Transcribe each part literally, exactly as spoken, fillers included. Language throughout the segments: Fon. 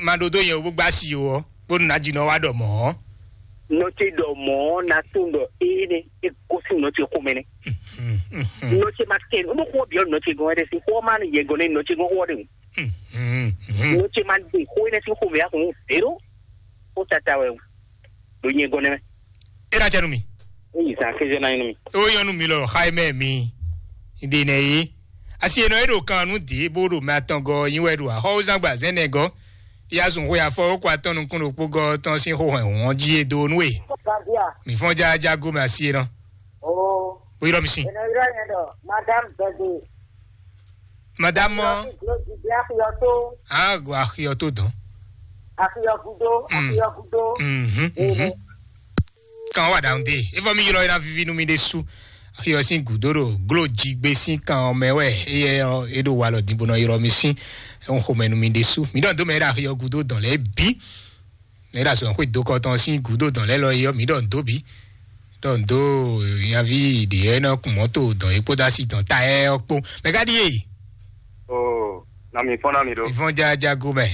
Ma ɖó dó nyɛ bó gbá si o, bónú ná jí nɔ wá ɖɔ mɔ̌. Nɔ ce ɖɔ mɔ̌ ná tunwun ɖɔ éé nɛ́, é gosín nɔ ce xomɛ nɛ́. Nɔ ce ma kɛ nǔ bó xó byɔ́ nɔ ce gɔ́n ɛɖɛ sín xó ɔ́ má yɛ gɔ́n nɛ́ nɔ ce gɔ́n xó ɔ́ ɖe. Nɔ ce ma ɖe xó énɛ́ sín xomɛ yá xɔn zéro. Xó tata wɛ ɖo nyɛ gɔ́n nɛ́ mɛ. É ná jɛ nú mi. Éyi zan kéze ná nyí nú mi. Ó nyɔ́ nú mi lɔ xá mɛ mi. Ɖe nɛ yé. Asi enɔ é ɖo kan nú dě bó ɖo mɛ atɔngɔ nyi wɛ ɖo axɔ́wúzán gba zɛ́n nɛ gɔ́. Ya zun xwe afɔ ó kɔ atɔn nukún ɖokpó gɔ́ tɔn sín xó hɛn hɔn jí e dó nú e. Gadia. Mi fɔ́n jájá gómɛ asi enɔ. Oh. Bó ylɔ́ mi sín. Enɔ ylɔ́ nyɛ ɖɔ Madame Bɛgbe. Madame mɔ. Glodi bí axiyɔ tó. Ah, go axiyɔ tó dɔn. Axiyɔ gudo, Mm. Axiyɔ gudo. Mhm, mhm. Kan wá ɖa ŋde. Evɔ mi ylɔ́ yɛ ná vivi nú mi ɖésú. Axiyɔ sín gǔdo ɖo gló jigbe sín kan ɔ́ mɛ wɛ. Éyɛ ɔ́, é ɖo walɔ din bó nɔ ylɔ́ mi sín. Ɛhún xomɛ nú mi ɖésú. Mi ɖɔ dó mɛ é ɖo axiyɔ gudo dɔn lɛ́ɛ bí. Ě ɖo azɔ̌ xwé dó kɔ tɔn sín gǔdo dɔn lɛ́ɛ lɔ é ɔ́, mǐ ɖɔ nǔ dó bǐ. Ɖɔ nǔ dó nyaví ɖě ɔ́ nɔ kun mɔ̌to dɔn é kpódó asi dɔn ta ɛ ɔ́ kpó. Mɛ ká ɖíe? Oo, na mi fɔ́n ná mi ɖó. Ìfɔn jájá go mɛ.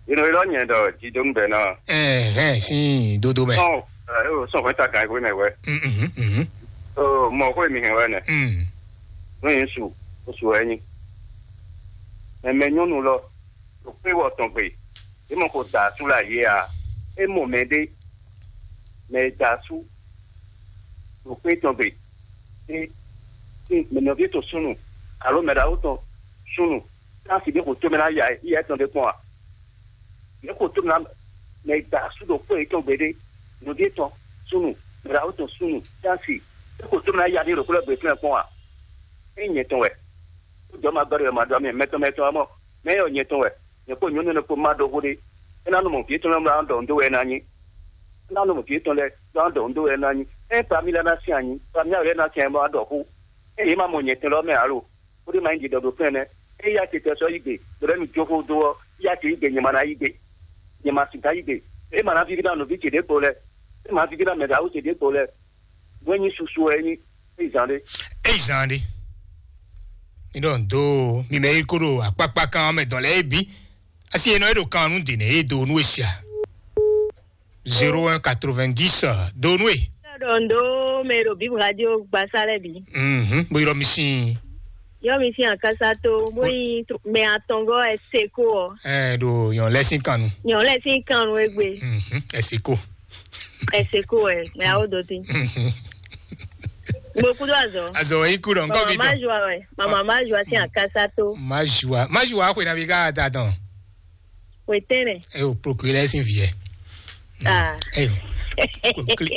Inú ilɔ nyɛ ɖɔ jidónú bɛ ná. Ɛhɛn, sín dodo mɛ. Sɔn, ɛ, o sɔn fɛn ta kan ego mɛ wɛ. Mhm, mhm. Oo, mɔ xó mi hɛn wɛ nɛ. Mm. Nú yín su, o su wɛ nyi. Mɛ mɛ nyɔnu lɔ, ɖo kpé wɔ tɔn gbe. É mɔ xo da asú lɛ ayé a? É mɔ mɛɖé, mɛ e da asú ɖo xwé tɔn gbe. É, é, mɛ nɔví tɔn súnnu, alo mɛ ɖaxó tɔn súnnu, tási ɖé xo tó mɛ ná ya yɛ tɔn ɖé kpɔ́n a? Yě xo tó mɛ ná mɛ e da asú ɖo xwé yětɔn gbe ɖé, nɔví tɔn súnnu, mɛ ɖaxó tɔn súnnu, tási, é xo tó mɛ ná ya ní ɖo xwé lɛ́ɛ gbe fínɛ́ kpɔ́n a? É nyɛ tɔn wɛ. Ó jɔ ma gbɛ́ ɖɔ ma ɖɔ mɛ mɛtɔn mɛtɔn ɔ́ mɔ, mɛ yɔ nyɛ tɔn wɛ. Nyɛ kpó nyɔ̌nu énɛ́ kpó má ɖɔ xó ɖé. É ná nɔ mɔ vǐ tɔn lɛ́ɛ bó ná ɖɔ nǔ dó wɛ é ná nyí. É ná nɔ mɔ vǐ tɔn lɛ́ɛ bó ná ɖɔ nǔ dó wɛ é ná nyí. Ényí pami lɛ́ɛ ná sín anyi, pami lɛ́ɛ ná sín anyi bó ná ɖɔ xó. Ényí yě ma mɔ nyɛ tɛn lɛ́ɛ mɛ ǎ lo, bó ɖé ma nyí ɖiɖɔ ɖo fɛ́n nɛ́. Ényí yá ce tɛ sɔ́ yí gbe, ɖo lɛ́ mi jó xó dó ɔ́, yá ce yí gbe nyɛ ma ná yí gbe. Nyɛ ma sixá yí gbe. É ma ná víví ná nɔví ce ɖěvo lɛ́ɛ. É ma víví ná mɛ ɖaxó ce ɖěvo lɛ́ɛ. Nǔ e nyí susu wɛ é nyí. É zan ɖé. É zan ɖé. Mi ɖɔ ndo mi mɛ yi ko ɖo akpakpa kan mɛ dɔn lɛ é bi. Asi enɔ e ɖo kan nu de nɛ e do nu e sia. Zéro un quatre-vingt-dix do nu e. Ɖɔ ndo mɛ ɖo bib radio gbasa lɛ bi. Mhm. Bo yɔrɔ mi sin. Yɔ mi sin akasa to bo yi mɛ atɔngɔ ɛ seko ɔ. Ɛ ɖo yɔn lɛ sin kan nu. Yɔn lɛ sin kan nu egbe. Mhm. Ɛ seko. Ɛ seko ɛ mɛ awo do tin. Mhm. Mo kudo azɔ. Azɔ yi kudo nkɔ bi dɔn. Mama ma joie wɛ. Mama ma joie sin akasa to. Ma joie. Ma joie ko na bi ka ta dɔn. Wetɛnɛ. E o procureur sin viɛ. Ah. E o.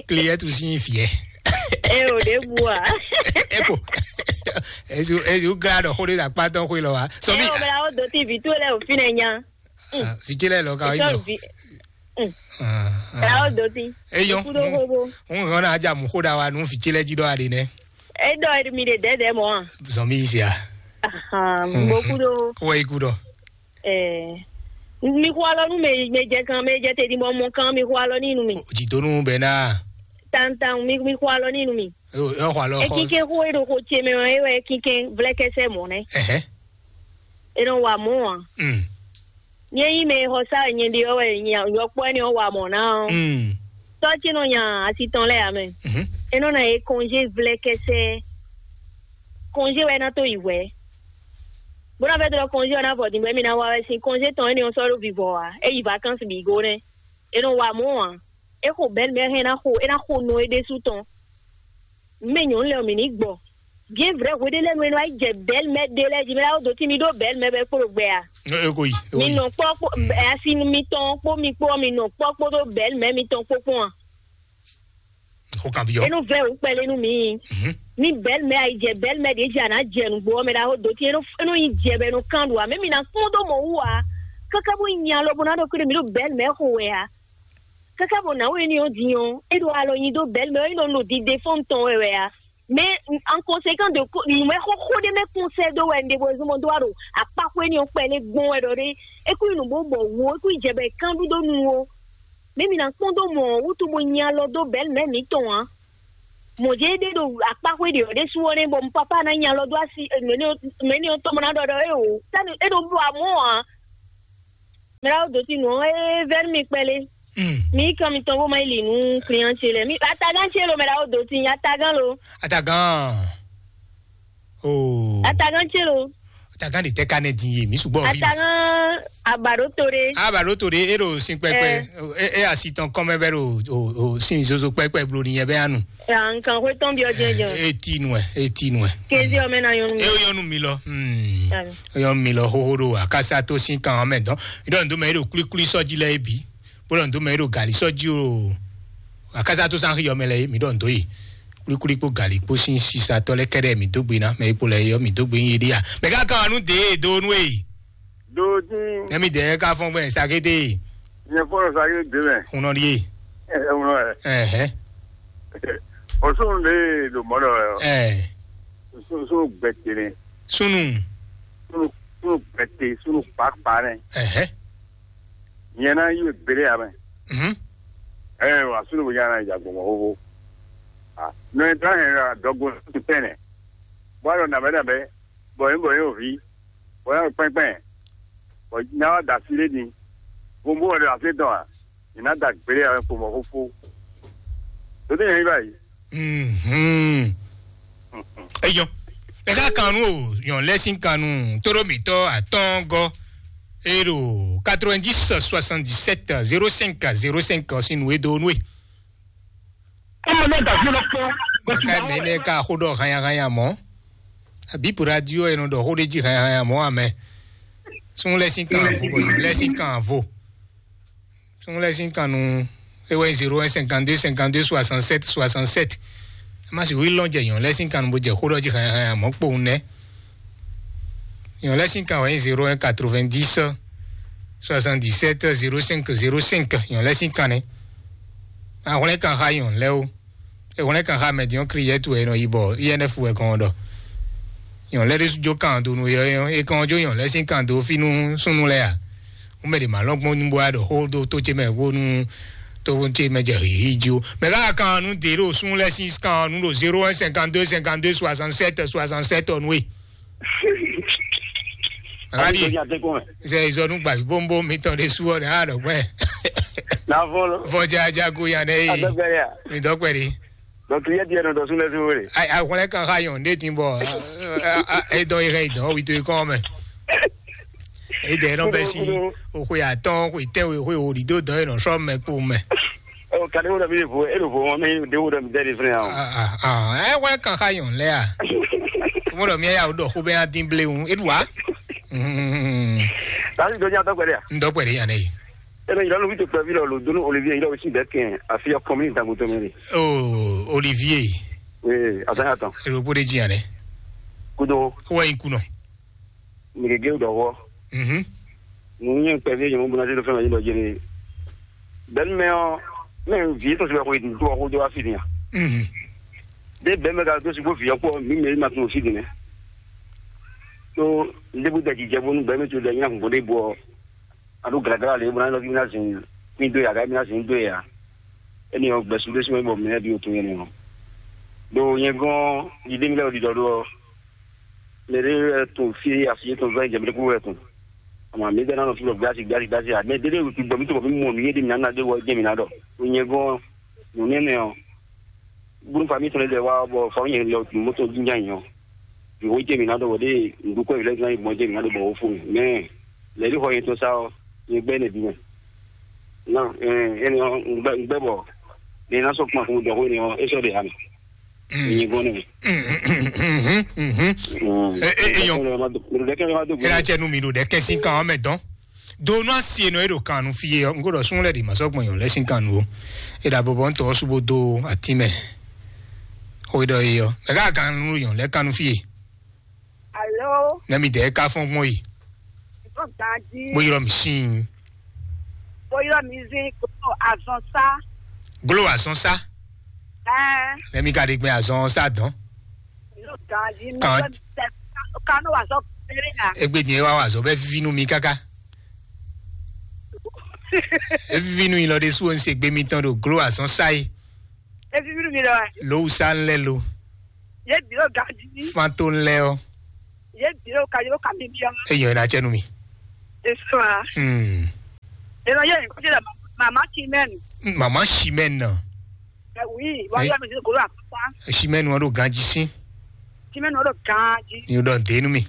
Client sin viɛ. E o de bua. E ko. Ezu ezu ga dɔ xo de akpa tɔn xo lɔ wa. So mi. E o mɛ awo do tin vi to lɛ o fi nɛ nya. Vijilɛ lɔ ka yi lɔ. Mɛ awo do tin. Eyɔn. Kudo hobo. N hɔn na aja mu xo da wa nu vijilɛ ji dɔ ade nɛ. E dɔ mi de dɛdɛ mɔ a? Zɔn mi sia. Ahan, mo kudo. Wɔ yi kudɔ. Ɛɛ, mi xo alɔ nu mɛ mɛ jɛ kan mɛ jɛ te di mɔ mɔ kan mi xo alɔ ni nu mi. Jidonu bɛ na. Tantan mi mi xo alɔ ni nu mi. Yɔ xo alɔ xɔ. Ekinkɛn xo e ɖo xo ce mɛ ɔ e wɛ ekinkɛn vlɛkɛsɛ mɔ nɛ. Ɛhɛn. E nɔ wa mɔ a? Mm. Nyɛ yi mɛ xɔ sa nyɛ ɖe ɔ wɛ nyɔkpɔ ɛni ɔ wa mɔ na ɔ. Mm. Tɔ ce nɔ nya asi tɔn lɛ amɛ. Mhm. E nɔ na ye kɔnje vlɛkɛsɛ. Kɔnje wɛ na to yi wɛ. Bó ná fẹ́ tó lɔ kɔnjé ɔ́ ná vɔ dǐn bɔ émí ná wá wɛ sín kɔnjé tɔn énɛ́ ɔ́ sɔ́ ɖó vivɔ ǎ. É yi vakansi bǐ gó nɛ́. É nɔ wa mɔ̌ ǎ. É xo bɛ̌ mɛ hɛn ná xo é ná xo nɔ é ɖésú tɔn. Mɛ nyɔ̌nu lɛ́ɛ ɔ́ mǐ ní gbɔ. Bien vrai hweɖé lɛ́ɛ nu é nɔ wá yi jɛ bɛ̌ mɛ ɖé lɛ́ɛ jí mɛ ná dó tí mi ɖó bɛ̌ mɛ bɛ kpó ɖo gbɛ a? E ko yi. Mi nɔ kpɔ́ kpó asi mitɔn kpó mi kpó ɔ́ mi nɔ kpɔ́ kpódó bɛ̌ mɛ mitɔn kpó kpɔ́n a? Xo kan byɔ. Enu vɛ o kpɛlɛ nu mi. Mhm. Mi bɛl mɛ ayi jɛ bɛl mɛ de jɛ ana jɛ nugbo ɔmɛ da ho do ti enu enu yi jɛ bɛ nu kan do ame mi na kpɔn do mɔ wu a. Kaka bo nya lɔ bo na do kele mi do bɛl mɛ xo wɛ a. Kaka bo na wo eni o di o e do alɔ nyi do bɛl mɛ o eno no di de fɔn tɔn wɛ wɛ a. Mais en conséquent de ko numɛ xoxo ɖe mɛ kɔnsɛ do wɛ nde bo zɔn do aro akpa ko eni o kpɛlɛ gbɔn wɛ dɔ de. Eku nu bo bɔ wo eku jɛ bɛ kan do do nu o. Mɛ mi na kpɔn do mɔ wutu bo nya lɔ do bɛl mɛ mi tɔn a. Mɔ jɛ ɖe ɖo akpa xwe ɖe ɔ ɖe su ɔ ne bɔ papa na nya lɔ do asi mɛ ni ɔ tɔmɔ na ɖɔ ɖɔ e o sani e ɖo bɔ amɔ a. Mɛ ɖaxó dó tin nǔ ɔ́, é vɛ́ nú mi kpɛɖé. Mm. Mi yi kan mitɔn bó ma yi li nú client ce lɛ́ɛ. Mi atagán ce lo, mɛ ɖaxó dó tin, atagán lo. Atagán. Oh. Atagán ce lo. Atagán ɖe tɛ ka nɛ din ye, mi sugbɔ fi. Atagán abaɖó to ɖé. Abaɖó to ɖé, e ɖo sin kpɛkpɛ. Eh. E, e asi tɔn kɔn mɛ bɛ ɖo o, o sin zozo kpɛkpɛ blo ni yɛ bɛ anu. Ya nkan xwe tɔn biɔ jɛjɛ. E ti nu ɛ, e ti nu ɛ. Kezi ɔmɛ na yɔnu. E yɔnu mi lɔ. Hmm. Ami. Yɔnu mi lɔ xoxo ɖo akasa to sin kan mɛ dɔn. Idɔ ndo mɛ e ɖo kulikuli sɔji lɛ e bi. Bó ɖɔ ndo mɛ e ɖo gali sɔji o. Akasa to san xiyɔ mɛ lɛ e mi ɖɔ ndo yi. Kulikuli kpo gali kpo sin sisatɔ lɛ kɛɖɛ mi dó gbe ná mɛ e kpo lɛ yɔ mi dó gbe nyi ɖi ya. Mɛ ka kan nu de do nu e. Dodin. Nɛ mi dɛ ka fɔn gbɛ sakete. Nyɛ fɔlɔ sa yé dé mɛ. Hunɔ ɖi e. Ɛ ɛ wlɔ ɛ. Ɛhɛ. Ɔsùn lè lò mɔ lɔ ɛ. Ɛ. Sunu sunu gbɛtɛ nɛ. Sunu. Sunu sunu gbɛtɛ sunu kpakpa nɛ. Ɛhɛ. Nyɛ na yi gbélé ya mɛ. Mhm. Ɛ wa sunu bo nyana ya gbɔmɔ xoxo. Ah, nɔ ɛ tán hɛn la dɔgbo tɛnɛ. Bɔ alɔ nabɛ nabɛ. Bɔ yín bɔ yín o vi. Bɔ yín o kpɛnkpɛn. Bɔ ná wa da si lé ni. Gbogbo wɛ da se dɔn a. Ina da gbélé ya mɛ kpo mɔ xoxo. Tó dé yẹn yí báyìí. Mhm. Eyɔn. Ẹ ká kan nú o, yɔn lɛ sín kan nú tóɖó mǐtɔn atɔ́ɔ́ngɔ́. E ɖo quatre-vingt-dix soixante-dix-sept zéro cinq zéro cinq ɔ́ sín nǔ e dó nú e. Ɔmɔ náà dàbí ọlọ́pàá. Ká mɛ nɛ ká xó ɖɔ hanya hanya mɔ. Àbí pour radio ɛ nɔ ɖɔ xó ɖé jí hanya hanya mɔ amɛ. Sún lɛ sín kan vo, bɔ yɔn lɛ sín kan vo. Sún lɛ sín kan nu. E wɛ zéro un cinquante-deux cinquante-deux soixante-sept soixante-sept. Ɛ má sì wí lɔn jɛ yɔn lɛ sín kan nu bó jɛ xó ɖɔ jí hanya hanya mɔ kpowun nɛ. Yɔn lɛ sín kan wɛ nyí zéro un quatre-vingt-dix soixante-dix-sept zéro cinq zéro cinq. Yɔn lɛ sín kan nɛ. Ahwlɛ́n kan xá yɔn lɛ o. Ehwlɛ́n kan xá mɛ din ɔ́, Kliyɛ́tu wɛ è nɔ yi bɔ I N F wɛ kɔn ɔ́ ɖɔ. Yɔn lɛ ɖésú jó kan do nú yɔ é kɔn jó yɔn lɛ sín kan do fí nú súnnu lɛ a. Wọ́n mɛ ɖě ma lɔ́n gbɔn ní bó wá ɖɔ xó dó tó ce mɛ bónú tó ce mɛ jɛ hǐhí jí ó. Mɛ ká kan nú dě ɖo sún lɛ sín kan nú ɖo zéro un cinquante-deux cinquante-deux soixante-sept soixante-sept ɔ́ nú e. Aɖi. Sɛ izɔnu gbavi bombo mitɔn ɖe su ɔ́ ɖe a ɖɔ gbɛ. Navɔ lo. Vɔdza jago ya ɖe yi. Adɔgbɛ ya. Mi dɔgbɛ ɖi. Donc yɛ diɛ nɔ dɔ sun lɛ su wele. Ayi ahwlɛ kan xa yɔn ɖe tin bɔ. Edɔn yi hɛ idɔn wi to yi kɔn mɛ. Edɛ nɔ bɛ si. Oxwe atɔn, oxwe tɛnwe, oxwe wo ɖi do dɔn enɔ sɔ mɛ kpo mɛ. Ɔ kadi wo dɔ mi vo e ɖo vo wɔn mɛ de wo dɔ mi dɛ de fɛnɛ yan. Ɛ wɛ kan xa yɔn lɛ a. Mo dɔ mi ya o dɔ xo bɛ ya din ble ŋu e ɖu wa. Tasi dɔ nya dɔ gbɛdɛ ya. N dɔ gbɛdɛ yan ne. E bɛ yira nu fi to kpɛvi lɔ lo donu Olivier yira o si bɛ kɛn afi ya kɔmi dangoto mi de. O Olivier. Oui, a sa ya tɔn. E ɖo bó de ji yan ne. Kudo. Wɔ yin kunɔ. Mìgegé ɖɔ hɔ. Mhm. Nǔ nyɛ kpɛví nyɛ mɔ bó ná zé ɖó fɛn mɛ nyí ɖɔ jɛnɛ. Bɛn mɛ ɔ, mɛ vǐ tɔn sibɛ xwe do xo do afi nia. Mhm. De bɛn mɛ ka do si bó vǐ ɔkpɔ mi mɛ ma tun si dine. To ndebu da jijɛ bónú bɛn mɛ to da nyina kun bó de bɔ. Ado glagla le bó ná lɔ mi ná zin mi do ya ga mi ná zin do ya. Eni ɔ gbɛsu ɖé sumɛ bɔ mɛ bi o tun yɛ nɔ. Do nyɛ gɔn yi de mi lɛ o di dɔ do. Mɛ ɖé wɛ tun fí asi yětɔn zɔ́n jɛ mɛ ɖé kúkú wɛ tun. Ama mi ɖe nanɔ fi bɔ gbasi gbasi gbasi a mɛ ɖé ɖé wɛ gbɔ mi to bɔ mi mɔ mi yé ɖe mi nana ɖé wɔ jɛ mi na ɖɔ. O nyɛ gɔn nù nɛnɛ ɔ. Bulu fa mi tɔn ɖe wa bɔ fa nyɛ lɛ o tun mɔtɔ dun jan yɔ. Bi wo jɛ mi na ɖɔ wɔ ɖe ŋdu kɔ yi lɛ zan yi gbɔn jɛ mi na ɖɔ bɔ wo fo mi. Mɛ lɛ ɖi xɔ yɛ tɔn sa ɔ nyɛ gbɛ ne bi mɛ. Na ɛn ɛn ɔ ŋgbɛ ŋgbɛ bɔ ne na sɔ kuma fún mi dɔ ko ne ɔ e sɔ de ha mi. Nyi gɔn ne. Eyɔn. Ena cɛ nu mi ɖo ɖɛ kɛsin kan ɔmɛ dɔn. Do nu asi enɔ e ɖo kan nu fi ye ɔ, n ko ɖɔ sun lɛ ɖi ma sɔ gbɔn yɔn lɛ sin kan nu o. E ɖa bɔbɔ ntɔ subo do ati mɛ. O ɖɔ ye ɔ, mɛ ka kan nu yɔn lɛ kan nu fi ye. Alo. Ne mi dɛ ka fɔn gbɔn yi. Ìbọn gbàdí. Bó yọrọ mi sin. Bó yọrọ mi sin kò azɔn sá. Glo azɔn sá. Ɛɛ. Ne mi ka ɖe gbɛ azɔn sá dɔn. Ìbọn gbàdí. Kan. Kanu wa sɔ péré ya. Egbe nyɛ wa wa zɔ bɛ vivi nu mi kaka. Evivi nu yi lɔ ɖe su o n se gbe mi tɔn ɖo glo azɔn sá yi. Evivi nu mi lɔ. Lowusa n lɛ lo. Ye bi o gaji. Fanto n lɛ ɔ. Ye bi o kaji o kami bi ɔ. Eyɔ ina cɛ nu mi. Esua. Hmm. Ena ye ko jela mama Chimène. Mama Chimène. Eh oui, wa ya mi ko la papa. Chimène wan do ganji sin. Chimène wan do ganji. Ni do de nu mi.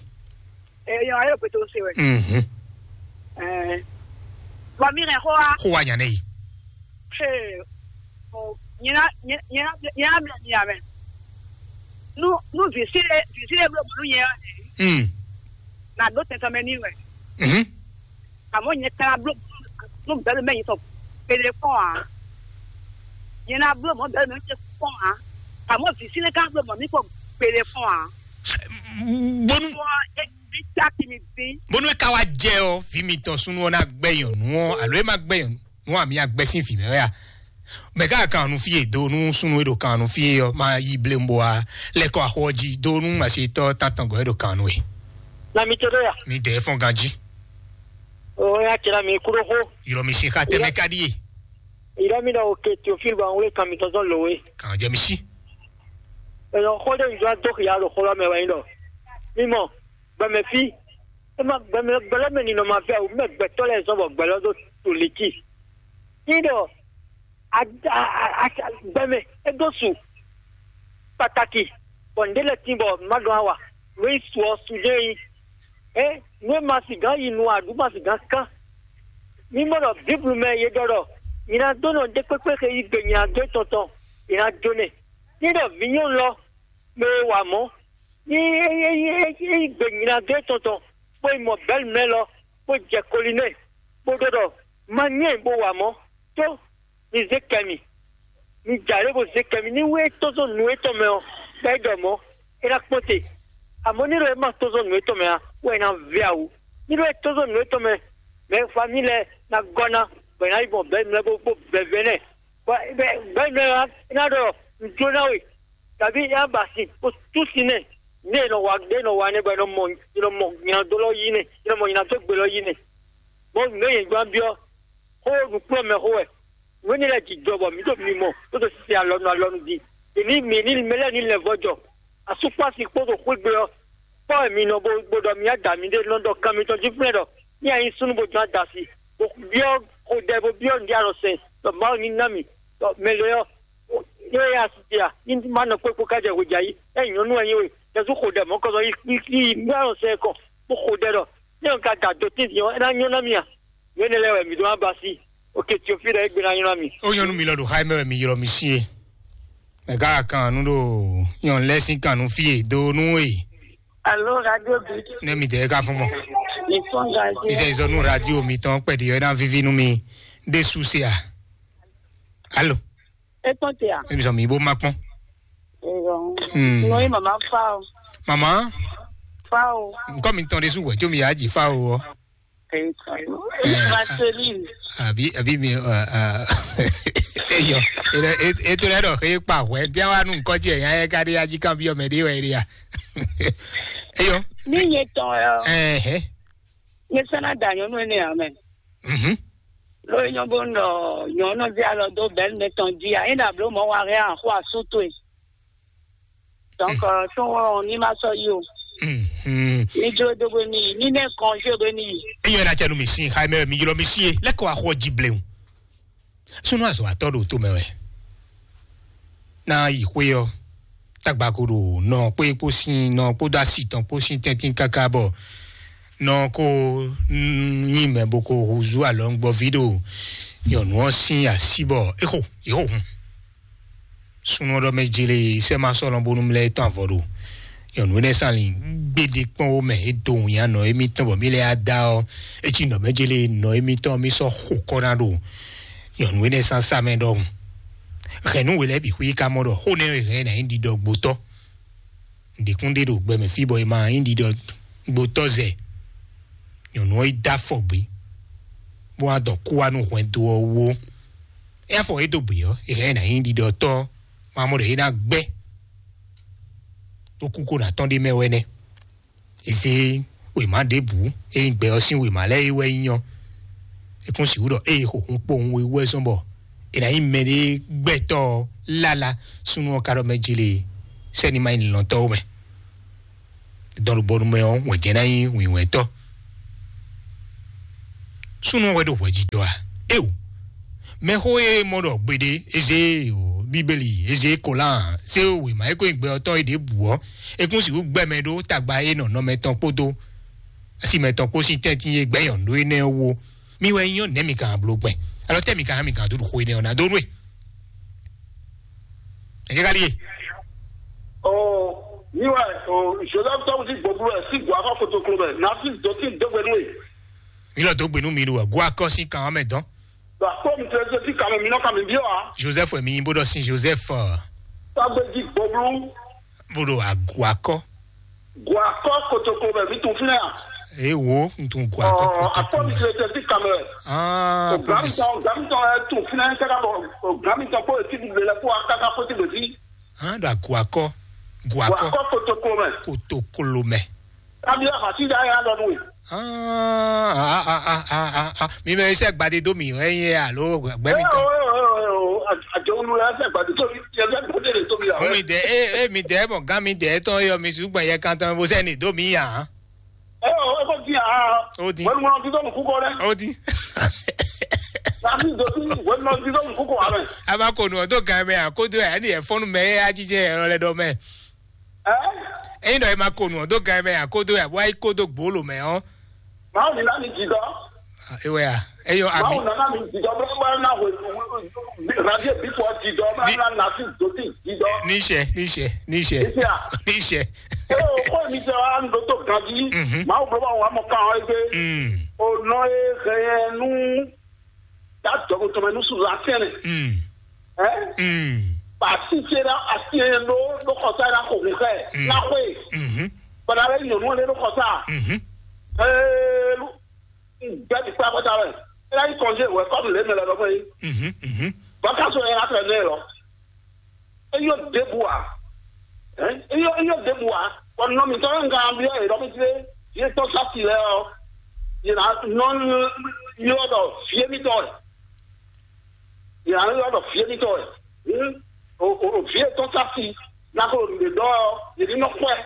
Eh yo ayo peto se we. Mhm. Eh. Wa mi re ho a. Ho wa nyane yi. Hey. Oh, nyina nyina nyina mi ya me. Nu nu visile visile blo blo nyɛ. Mm. Na do tɛntɛn mɛ ni we. Mhm. Àmọ́ nyɛ ka ná bló nú bɛ̌lu mɛ nyitɔn kpele kpɔ́n ǎ. Nyɛ ná bló mɔ̌ bɛ̌lu mɛ nyitɔn kpɔ́n ǎ. Àmọ́ vǐ sín ka bló mɔ̌ mì kpɔ́n kpele kpɔ́n ǎ. Bónú Wọ́n é bí cáki mi dín. Bónú é ka wá jɛ ɔ́, vǐ mitɔn súnnu ɔ́ ná gbɛ nyɔ̌nu ɔ́, alo é má gbɛ nyɔ̌nu ɔ́, àmì agbɛ́ sín vǐ mɛ wɛ a? Mɛ ká kan nu fí e do nú súnnu e ɖo kan nu fí e ɔ́, má yí blé bó wá lɛ́ kɔ axɔ ɔ́ jí do nú masetɔ́ tántɔn gɔ́ e ɖo kan nu e. Na mi to ɖe ya. Mi dɛ fɔ́n ganjí. O ya cɛ na mi kúrò xó. Yɔrɔ mi si xa tɛmɛ ka ɖíe. Ìrá mi ɖɔ òkè Théophile bɔ àwọn wúlé kan mi tɔn zɔn lò wé. Kàn jẹ mi sí. Èèyàn xó ɖé ìjọ dó xìyà ɖo xó lɔ mɛ wɛ yín ɖɔ. Mímɔ, gbɛmɛ fí. É má gbɛmɛ gbɛlɛmɛ ninɔ ma fẹ́ o, mɛ gbɛtɔ́ lɛ zɔn bɔ gbɛlɔ dó to létí. Yín ɖɔ a- a- a- a- gbɛmɛ é dó su pàtàkì bɔ ǹdé lɛ tín bɔ má ɖɔn awa nǔ e su ɔ su jɛ yi ɛ nǔ e ma si gán yi nu aɖu ma si gán kán mi mɔ ɖɔ bíblu mɛ ye ɖɔ ɖɔ nyi ná dó nɔ ɖé kpékpé xe yi gbe nyi ná dó tɔntɔn yi ná dó nɛ ní ɖɔ vǐ nyɔnu lɔ mɛ e wa mɔ̌ ní yi gbe nyi ná dó tɔntɔn bó yi mɔ bɛ́lu mɛ lɔ bó jɛ koli nɛ bó ɖɔ ɖɔ ma nyɛ bó wa mɔ̌ tó mi zé kɛ mì. Mi jǎ lé bó zé kɛ mì ní wú é tɔ́n zɔn nǔ étɔn mɛ ɔ́, bɔ é ɖɔ mɔ̌, é ná kpɔ́n te. Amɔ̌ ní ɖɔ é ma tɔ́n zɔn nǔ étɔn mɛ ǎ, wɛ é ná vɛ́ awu. Ní ɖɔ é tɔ́n zɔn nǔ étɔn mɛ, mɛ famí lɛ́ɛ ná gɔ́ ná, bɔ è nǎ yi gbɔn bɛ̌ nǔ lɛ́ɛ bó bó vɛvɛ́ nɛ́. Bɔ bɛ̌ nǔ lɛ́ɛ ná ɖɔ nǔ jó ná we, tàbí é ná ba sin bó tú sin nɛ́. Ní è nɔ wa ɖé nɔ wa nɛ́ bɔ è nɔ mɔ è nɔ mɔ nyadó lɔ yí nɛ́, è nɔ mɔ nyadó gbe lɔ yí nɛ́. Bɔ nǔ e yě gbán byɔ́ xó nǔkplɔ́nmɛ xó wɛ. Nǔ énɛ́ lɛ́ɛ jijɔ bɔ mǐ ɖo mimɔ bó ɖo sise alɔnu alɔnu din. È ní mǐ ní mɛ lɛ́ɛ ní lɛ̌ vɔ́ jɔ. Asúkpási kpódó xwégbé ɔ́, kpɔ́ wɛ mi nɔ bó bó ɖɔ mǐ ada mǐɖée nɔ ɖɔ kan mitɔn jí flɛ́ ɖɔ ní a nyí súnnu bó jɔ́n adasi, bó byɔ́ xodɛ bó byɔ́ nǔɖé alɔ sɛn ɖɔ Mawu ní ná mì ɖɔ mɛ lě ɔ́, é yá asi ce a? Ní má nɔ kpékpó ká jɛ hwejà yí, é nyɔ̌nu wɛ nyí we, Jezu xo ɖɛ mɔ̌kɔzɔ yí yí nǔɖé alɔ sɛn kɔ, bó xo ɖɛ ɖɔ ní ɔ́ ka da dǒ tíntín ɔ́, é ná nyɔ́ ná mì a? Nǔ énɛ́ lɛ́ɛ wɛ mǐ ɖó ná ba sí. Oke Teofílu ɛ gbé ná nylá mi. Ó nyɔ́nú mi lɔ ɖo xá mɛ wɛ mi ylɔ́ mi sí e. Mɛ gá kan nú ɖo nyɔnu lɛ́ sín kan nú fí e dó nú e. Alo, radio bi. Ne mi dɛ ka fún mɔ. Mi fún radio. Mi sɛ izɔ nú radio mi tɔn kpɛɖi ɛ ná vivi nú mi. Ɖé su se a? Alo. E tɔn te a? Emi sɔ mi bó ma kpɔn. Eyɔ. Hmm. Nɔ ye mama fa o. Mama. Fa o. Nkɔ mi tɔn ɖé su wɛ tso mi yá dzi fa o. Vaseline. Àbí àbí mi eyɔ eto lɛ dɔ xeye kpa hwɛ dia wa nu nkɔ jɛ ya yɛ ka de aji kan bi ɔmɛ de wɛ de ya. Eyɔ. Mi nye tɔn yɔ. Ɛhɛ. Nye sana da nyɔnu ene amɛ. Mhm. Lo nyɔ bo nɔ nyɔnu di alɔ do bɛn ne tɔn di a ina blo mɔ wa hɛ a xo asu to e. Donc euh, tɔn wɔ ni ma sɔ yi o. Mhm. Ni jlo do bo ni ni ne kɔnje bo ni. Eyɔ na cɛ nu mi si xa mɛ mi ylɔ mi si ye lɛkɔ axɔ ji blewu. Sunu azɔ atɔ ɖo to mɛ wɛ. Na yi xwe ɔ, tagba ko ɖo nɔ kpé kpó sín nɔ kpódó asi tɔn kpó sín tɛ́ntín káká bɔ nɔ ko nyi mɛ bo ko húzú alɔ ń gbɔ ví ɖo nyɔnu ɔ́ sín así bɔ é xo yě xo hun. Súnnu ɔ́ ɖɔ mɛ jele sɛ́ ma sɔ́ lɔn bónú mlɛ́ tɔn avɔ ɖo nyɔ̌nu énɛ́ sín ali gbéɖé kpɔ́n wó mɛ é dó wǐnyanɔ émítɔn bɔ mí lɛ́ yá dá ɔ́, é cí nɔ mɛ jélé nɔ émítɔn mí sɔ́ xo kɔ́ ná ɖo nyɔ̌nu énɛ́ sín asá mɛ ɖɔhun. Hɛ̌nnu we lɛ́ɛ bǐ xwí ka mɔ ɖɔ xó nɛ́ hɛn ná nyí ɖiɖɔ gbotɔ́. Ɖěkún ɖé ɖo gbɛmɛ fí bɔ è ma nyí ɖiɖɔ gbotɔ́ zɛ. Nyɔ̌nu ɔ́ yi dó afɔ gbé, bó wá dɔ kú wá nú hwɛndo ɔ́ wú ó. É afɔ é dó gbě ɔ́, è hɛn ná nyí ɖiɖɔtɔ́, ma mɔ ɖɔ é ná gbɛ́. Tó kú kó ná tɔ́n ɖé mɛ wɛ nɛ́. È zé wěma ɖěbǔ, é nyí gbɛ ɔ́ sín wěma lɛ́ɛ é wɛ nyí ɔ́. É kún sixú ɖɔ ée xo hun kpowun we wú wɛ zɔ́n bɔ è nǎ nyí mɛɖé gbɛtɔ́ ɔ́ lála súnnu ɔ́ ka ɖɔ mɛ jlé sɛ́ni ma nyí lɔ̌ntɔ́ ó mɛ. Dɔn ɖo bɔnu mɛ ɔ́, wɛ̌ jɛ ná nyí wǐnwɛ́ntɔ́. Súnnu ɔ́ wɛ ɖo hwɛjijɔ a? Eo, mɛxó e mɔ ɖɔ gbeɖé, eze o, Bíbélì, eze Kolan, se o, wěma e ko nyí gbɛ ɔ́ tɔn é ɖěbǔ ɔ́, é kún sixú gbɛ mɛ ɖó tagba e nɔ nɔmɛ tɔn kpódó asi mɛ tɔn kpó sín tɛ́ntin e gbɛ nyɔ̌nu ɖó énɛ́ ɔ́ wú ó. Mi wɛ nyɔ́ nɛ̌ mi ka bló gbɛn? Alɔ tɛ́ mi ka mi ka dó ɖo xó énɛ́ ɔ́ ná dó nú e? Ɛ kɛ́ ka ɖíe? Ɔ, mi wɛ, ɔ, Joseph tɔn jí gbɔgblu wɛ sí gbɔ afɔ kotoklo mɛ, na sí dɔtí dɔgbe nú e. Mi lɔ dó gbe nú mi ɖo wɛ, go akɔ sín kan ɔ́ mɛ dɔn. Ɖo akpɔ mi tɛ sí kan mɛ, mi nɔ ka mi biɔ a? Joseph wɛ mi nyí bó ɖɔ sín Joseph, ɔ, Tagbe jí gbɔgblu. Bó ɖo agu akɔ. Go akɔ kotoklo mɛ, mi tun fínɛ a? Eye wo, n tun go akɔ. Ɔ, akpɔ mi kotoklo mɛ. Tɛ sí kan mɛ. Ah, Gami tɔn, Gami tɔn ɛ tun fínɛ, kaka bɔ, Gami tɔn kó etí ɖiɖe lɛ kó akaka kó ti gbèsí. Hã ɖo agu akɔ, gu Go akɔ, akɔ kotoklo mɛ. Kotoklo mɛ. Abi la hasi da ya lɔ nue. Ah, ah, ah, ah, ah, ah, ah. Mi mɛ iṣẹ́ gbadé dó mi, ẹ yẹ alo gbẹ mi tán. Àjọ olú la ṣe gbadé tó mi, ẹ fẹ́ gbadé lè tó mi àwọn. Mi dẹ, ẹ, ẹ, mi dẹ mọ gán mi dẹ tán yọ mi ṣùgbọ́n yẹ kan tán bó sẹ́ni dó mi yà. Ẹ ò, ẹ kò di à. Ó di. Wọ́n mú ọtí tó mú kúkọ rẹ. Ó di. Tàbí ìdòtí, wọ́n mú ọtí tó mú kúkọ rẹ. A b'a ko nù ọ́ tó gan mɛ a ko dó ɛ ɛni ɛ fɔnnu mɛ ɛ ajijɛ ɛ lɛ dɔ mɛ. Ẹ? Eyin dɔ e ma ko nù ɔ dó gan mɛ a ko dó ɛ bɔ ayi ko dó gbolo mɛ ɔ. Màá ní láti jì dọ́. Ewɛ a, eyɔ ami. Màá ní láti jì dọ́ bẹ́ẹ̀ bá náà wò. Radié bí fọ́ jì dọ́ bá náà nà sí dòtí jì dọ́. Níṣẹ́, níṣẹ́, níṣẹ́. Níṣẹ́ à. Níṣẹ́. Ẹ o kó mi jẹ wa ń dótó ganji. Mhm. Màá wò bọ́ bá wà mọ̀ ká wọn ẹgbẹ́. Mm. Ọ̀nà ẹ̀ hẹ̀yẹ̀ nú. Dá dɔgɔtɔmɛ nú sùn lásán rẹ̀. Mm. Ẹ́? Mm. Pàṣí ṣe dá àti ẹ̀ ló ló kọ sáyé náà kò kún kẹ́ ẹ̀. Mm. Náà kó e. Mhm. Bọ̀dá rẹ̀ yàn wọ́n lé ló kọ sá. Mhm. Ee, gbẹ́ ti kpá kọjá rẹ̀. Ẹ yá yí kọ̀njé ìwé kọ́mù lé mẹ́lẹ̀ lọ́mọ yìí. Mhm. Mhm. Bọ́kásù ẹ̀ yá fẹ́ lé lọ. Eyɔ ɖěbǔ ǎ. Ɛ? Eyɔ eyɔ ɖěbǔ ǎ. Bɔ nɔ mǐtɔn e un ka byɔ́ yě ɖɔ mì tlé, vǐ e tɔ́ sá si lɛ́ɛ ɔ́, yě ná nɔ ylɔ́ ɖɔ vǐ émítɔn wɛ. Yě ná ylɔ́ ɖɔ vǐ émítɔn wɛ. Hǔn o o o vǐ e tɔ́ sá si ná ko ɖe ɖɔ ɔ́, yě ní nɔ kpɔ́ ɛ.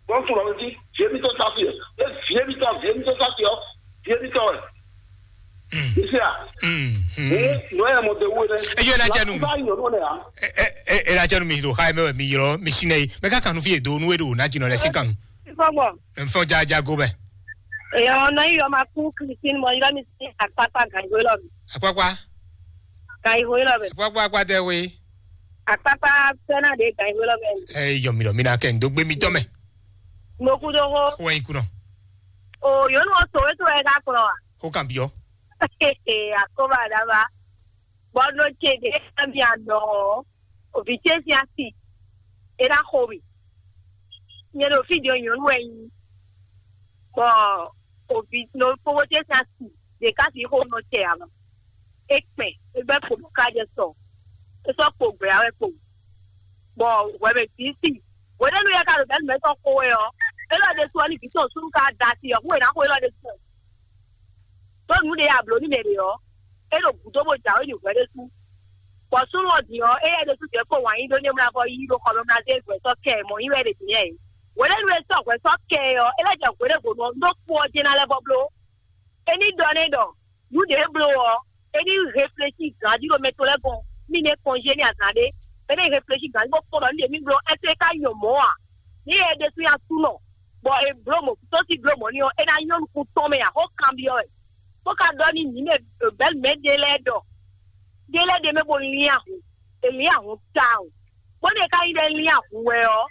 Bɔ un tunwun ɖɔ mì jí vǐ émítɔn sá si wɛ. É vǐ émítɔn vǐ émítɔn sá si ɔ́, vǐ émítɔn wɛ. Isi a. Hǔn nɔ yɛ mɔ de wú ɛnɛ. Eyɔ ná jɛ nu mi. Bá yàn nɔ nɛ a. Ɛ ɛ ɛ ná jɛ nu mi ɖo xa mɛ wɛ mi ylɔ mi si nɛ yi. Mɛ ka kanu fi edo nu edo na jinɔ lɛ si kanu. Fɔgbɔ. Nfɔ ja ja go mɛ. Eyɔ nɔ yi yɔ ma kú Christine mɔ yɔ mi si akpakpa gan yi hwe lɔ mi. Akpakpa. Gan yi hwe lɔ mi. Akpakpa akpa tɛ hwe. Akpakpa fɛn na de gan yi hwe lɔ mi. Ɛ yɔ mi lɔ mi na kɛ ndo gbe mi tɔ mɛ. Mo ku do ho. Ko yin kunɔ. O yɔ nu o so we to ɛ ka kplɔ wa. Ko kan biɔ. Akoba daba. Bɔn nɔ ce de ɛ mi anɔ. Ovi ce si asi. E na xo mi. Nyɛ ɖo fí din ɔ́, nyɔ̌nu wɛ nyí, bɔ ovi nɔ kpókpó ce sín asi ɖě ká sixú nɔ tɛ ǎ mɛ. É kpɛn, é gbɛ́ kpo bɔ ká jɛ sɔ, é sɔ́ kpo gbɛ̌ ǎ wɛ kpo, bɔ hwɛ mɛ bǐ si. Hwenɛ́nu yɛ ká ɖo bɛ̌ nǔ mɛ tɔn xo wɛ ɔ́, élɔ́ ɖésú ɔ́, ní vǐ tɔn súnnu ka da asi ɔ́, hú è nǎ xo élɔ́ ɖésú ɔ́. Ɖó nǔ ɖě a blǒ nú mɛ ɖě ɔ́, é ɖo gǔdo bó jǎwe nyi hwɛ ɖésú. Bɔ súnnu ɔ́ din ɔ́, éyɛ́ ɖésú jɛ kpó wǎn yí ɖó ní é mlá vɔ yí ɖó xɔ mɛ mlá zé hwɛ sɔ́ kɛ ɛ mɔ̌ yí wɛ ɖě din yɛ é. Hwenɛ́nu e sɔ́ hwɛ sɔ́ kɛ ɛ ɔ́, é lɛ́ jɛ hwě ɖé hwenu ɔ́, ɖó kpo ɔ́ jɛ́n ná lɛ́ vɔ bló. É ní ɖɔ n'i ɖɔ nǔ ɖě é bló ɔ́, é ní reflexí ganjí ɖo mɛ tɔn lɛ́ɛ gɔ́n, mí ní é kɔnjé ní azǎn ɖé. É ní reflexí ganjí bó kpɔ́n ɖɔ nǔ ɖě mí bló ɛ́, é ka nyɔ mɔ̌ ǎ. Ní é ɖésú nyí Aklúnɔ, bɔ è blǒ mɔ̌, tó sí blǒ mɔ̌ n'i ɔ́, é ná nyɔ́ nukún tɔn mɛ ǎ, xó kanbyɔ́ wɛ. Bó ka ɖɔ n'i mǐ mɛ bɛ̌ mɛ ɖé lɛ́ɛ ɖɔ ɖé lɛ́ɛ ɖe mɛ bó lín ahun, è lín ahun tawun. Bónú è ka nyí ɖɔ é lín ahun wɛ ɔ́,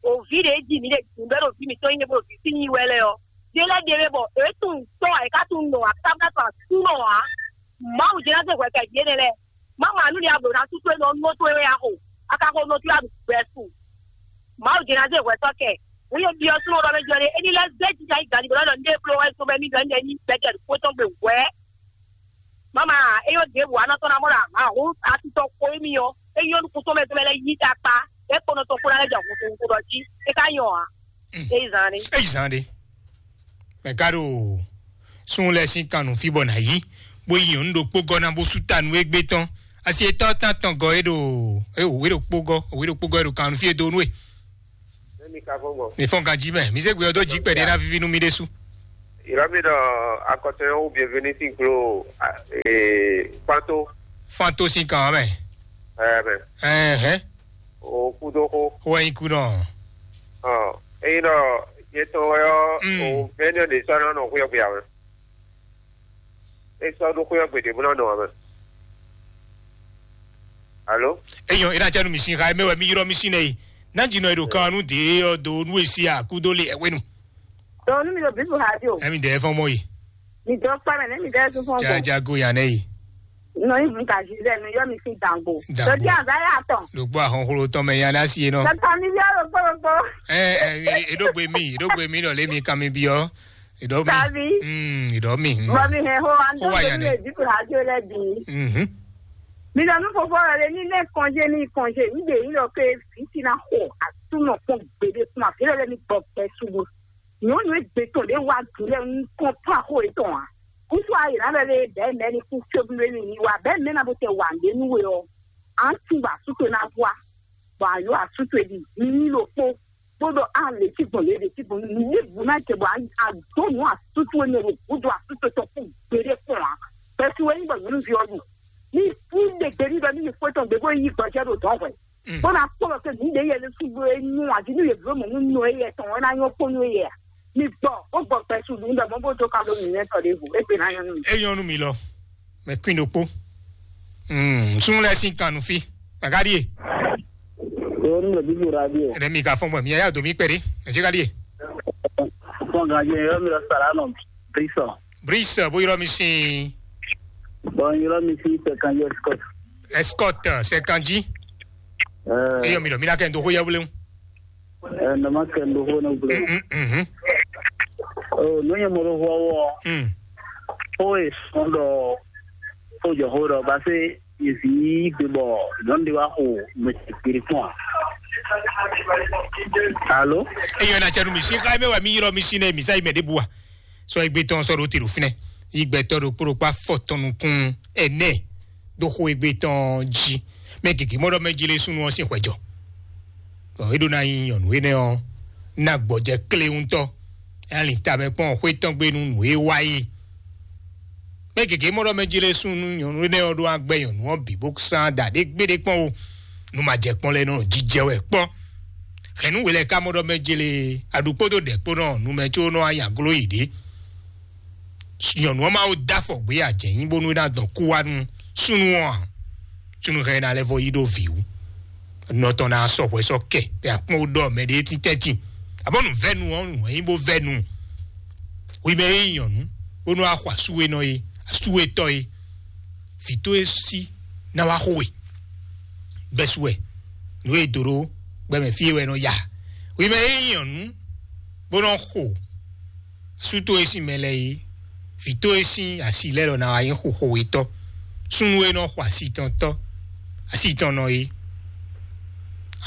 o vǐ ɖě jí mǐ ɖe dǐndɔ́ ɖo vǐ mǐtɔn nyí bó ɖo vǐ sí nyi wɛ lɛ́ɛ ɔ́, ɖé lɛ́ɛ ɖe mɛ bɔ é tunwun tɔ́ ǎ, é ka tunwun nɔ ǎ, káká to asúnɔ ǎ. Mawu jɛ ná zé hwɛ kɛ vǐ énɛ́ lɛ́ɛ. Má ma nú ní a blǒ ná sú towe nɔ nú towe wɛ a xo, a ka xo nɔ towe a ɖu gbɛ su. Mawu jɛ ná zé hwɛ sɔ́ kɛ. Wǔ yě byɔ́ súnnu ɖɔ mɛ jɔ ɖe, é ní lɛ́ zé jija yi gǎn ní blɔ́ ɖɔ ní ɖe bló wɛ zɔn mɛ mí ɖɔ ní ɖe ní gbɛjɛ ɖo kpótɔ́ gbe hwɛ̌. Mama, é yɔ ɖěbǔ a nɔ tɔn ná mɔ ɖo ahǎn hǔn atitɔ xo émí ɔ́, é nyɔ́ nukún tɔn mɛ tɔn mɛ lɛ́ yí ta kpá, é kponɔ tɔn kpó ná lɛ́ jɛ hun hun ɖɔ jí, é ka nyɔ ǎ. É yi zan ɖé. É yi zan ɖé. Mɛ ka ɖo sun lɛ sín kan nǔ fí bɔ nǎ yí, bó yi nyɔ̌nu ɖokpó gɔ́ ná bó sú ta nú égbé tɔn. Asi etɔ́ tán tɔn gɔ́ é ɖo é wě ɖokpó gɔ́, wě ɖokpó gɔ́ é ɖo kan nǔ fí e dó nú é. Ní fɔ́n ganjí mɛ, mi zé gbé ɔ́ dó jí kpɛɖé ná víví nú mi ɖésú. Ìrọ́bí ɖɔ akɔtɔn yẹn wú bienvenu sín glo, a, ee, Fanto. Fanto sín kan ɔ́ mɛ. Ɛɛ mɛ. Ɛhɛn. O kúdó xó. Wɛ nyí kú nɔ. Ɔ, eyi nɔ yetɔn wɛ ɔ. Mm. O mɛni ɔ de sɔ nɔ nɔ xuyɔ gbe awɛ. E sɔ ɖo xuyɔ gbe de bó nɔ nɔ awɛ. Alo. Eyɔn, ina cɛ nu mi sin xa, mɛ wɛ mi yrɔ mi sin nɛ yi. Na dzi nɔ yi ɖo kan nu de ɔ do nu esi a kúdó le ɛwenu. Dɔnku, mi ɖo bibu radio. Ɛmi dɛ fɔn mɔ yi. Mi dɔ kpa mɛ, ne mi dɛ tún fɔn ko. Jaja go yan nɛ yi. Nɔ yi bu ka zi zɛ nu yɔ mi sin dango. Dango. Dɔdi aza ya tɔn. Ɖo gbɔ ahɔnxlo tɔn mɛ yan na si ye nɔ. Tata mi bi alo kpɔlɔkpɔ. Ɛ ɛ eɖo gbe mi, eɖo gbe mi lɔ le mi kan mi bi ɔ. Eɖo mi. Sabi. Mm, eɖo mi. Mm. Bɔ mi hɛn ho an Ho wa tó yan mi nɛ. Lè bibu radio lɛ bi. Mhm. Mi lɔ nu fofo lɔ le ni ne kɔnje ni kɔnje ni de yi lɔ ke fi ti na xɔ asu nɔ kpɔn gbede kuma fi lɔ le ni gbɔ pɛ sugu. Nyɔnu e gbe tɔn ɖe wa du lɛ un kɔn pa xo etɔn a. Kutu ayi na lɛ le bɛ mɛ ni ku tsobu le ni ni wa bɛ mɛ na bo tɛ wa nde nu we ɔ. An tun ba su to na vua. Bɔ a yɔ asu to di ni ni lo kpo. Kpo dɔ a le ti gbɔn le de ti gbɔn ni ni bu na jɛ bɔ a do nu asu to ne lo bu do asu to tɔ ku gbede kpɔn a. Bɛ su we ni bɔ nyɔnu vi ɔ du. Ni fu de gbe ni dɔ ni ni fo tɔn gbe bo yi gbɔjɛ do dɔn hwɛ. Mm. Bó ná kpɔ́ kɛ mǐ ɖe yɛ lé súgbó é nyú adi nú yě bló mɔ̌ nú nɔ é yɛ tɔn é ná nyɔ́ kpó nú é yɛ a? Mi gbɔ, bó gbɔ gbɛsu ɖu ŋɖɛ mɔ bó dó ka ɖó nǔnywɛ́ tɔ ɖěvo, é gbe ná nyɔ́ nú mi. É nyɔ́ nú mi lɔ, mɛ kwín ɖokpó. Mm, súnnu lɛ́ɛ sín kan nú fí. Mɛ ka ɖíe? Yóò nú mɛ bíbí radio. Ɛnɛ mi ka fɔn mɔ mi yá dó mi kpɛɖé. Mɛ ká ɖíe? Fɔn ganje yóò mi lɔ sara nɔ brisɔ. Brisɔ bó yrɔ mi sín. Bɔn yrɔ mi sín sɛkan yɛ skɔt. Escort, sɛkan jí. Eyɔ mi ɖɔ mi ná kɛ n do xó yɛ wléwu. Ɛ nɔ ma kɛ n do xó ne wléwu. Mhm. O nú nyɛ mo ɖo xó wɔ. Mm. Xó e sɔn ɖɔ xó jɔ xó ɖɔ ba se yezi gbe bɔ nyɔnu de wa xo mɛ gbiri kpɔn a. Alo. Eyɔ na cɛ nu mi si xa mɛ wa mi yrɔ mi si ne mi sa yi mɛ de bua. Sɔ egbe tɔn sɔ ɖo te ɖo fínɛ. Yi gbɛtɔ ɖokpó ɖokpó afɔ tɔn nukún ɛnɛ. Ɖo xo egbe tɔn jí. Mɛ gěgé mɔ ɖɔ mɛ jí lé súnnu ɔ́ sín hwɛjɔ. Bɔ é ɖó ná nyí nyɔ̌nu énɛ́ ɔ́, ná gbɔjɛ klé ŋutɔ. É ná lin tamɛ kpɔ́n xwé tɔn gbe nú nǔ e wa é. Mɛ gěgé mɔ ɖɔ mɛ jí lé súnnu nyɔ̌nu énɛ́ ɔ́ ɖó agbɛ́ nyɔ̌nu ɔ́ bǐ bó sán da ɖě gbéɖé kpɔ́n ó. Nú ma jɛ kpɔ́n lɛ́ɛ nɔ jijɛ wɛ kpɔ́n. Hɛ̌nnu we lɛ́ɛ ka mɔ ɖɔ mɛ jí lé aɖukpódó ɖɛ̌kpónɔ nú mɛ có nɔ wá nyi agló yi ɖě. Nyɔ̌nu ɔ́ ma wo dó afɔ gbé ajɛ̌nyi bónú é ná dɔn kú wá nú súnnu ɔ́ ǎ. Súnnu hɛn ná lɛ́ vɔ yí ɖó vǐ wú. Nɔ tɔn ná sɔ hwɛ sɔ kɛ bɛ akpɔn ɖɔ mɛ ɖé títɛ́ tin. Abɔ nǔ vɛ́nu ɔ́ nǔ nyí bó vɛ́nu. Wi mɛ é nyí nyɔ̌nu bónú axɔ asúwénɔ é, asúwétɔ́ é. Vǐ towe sí ná wá xo we. Bɛ́sú wɛ nǔ e dǒ ɖó gbɛmɛ fí é wɛ nɔ ya. Wi mɛ é nyí nyɔ̌nu bó nɔ xo asú towe sín mɛ lɛ́ɛ é, vǐ towe sín asi lɛ́ɛ lɔ ná wá nyí xo xo wetɔ́. Súnnu e nɔ xo asi tɔn tɔ́ asi tɔn nɔ é.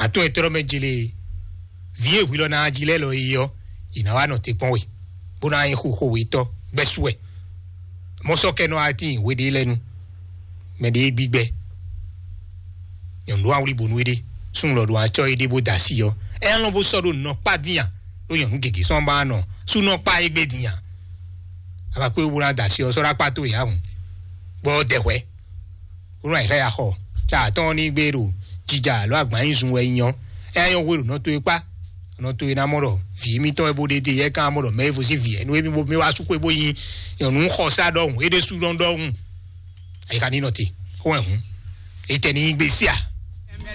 Àtɔn e tlɔ́ mɛ jele vǐ e hwi lɔ ná jí lɛ́ɛ lɔ é ɔ́, è nǎ wá nɔ te kpɔ́n we, bó ná nyí xo xo wetɔ́ bɛ́sú wɛ. Mɔ̌ sɔ́ kɛ nɔ wá tíin hwe ɖé lɛ́ɛ nu. Mɛ ɖě gbígbɛ. Nyɔ̌nu ɖó awlí bonu éɖé. Súnnu lɔ ɖo acɔ́ éɖé bó da asi ɔ́. Ɛ lɔn bó sɔ́ ɖo nɔkpá dín a? Ɖó nyɔ̌nu gěgé sɔ́ ba nɔ. Sú nɔkpá égbé dín a? Ava kpé wó ná da asi ɔ́ sɔ́ ɖó akpá tó yǎ hǔn. Gbɔ dɛhwɛ. Wó nɔ ayǐ xá ya xɔ. Tsa atɔ́ ní gbé ɖo jija alo agban nyi zun wɛ nyɔ. Ɛ nyɔ hwe ɖo nɔ towe kpá. Nɔ towe ná mɔ ɖɔ vǐ émítɔn wɛ bó ɖe dé yɛ kán mɔ ɖɔ mɛ evo sín vǐ ɛnu émí bó mɛ wá sú xwé bó nyi nyɔ̌nu xɔsá ɖɔhun é ɖésú nɔ ɖɔhun. Ayika ní nɔ te xó wɛ hǔn. Etɛ ní nyi gbé sí a?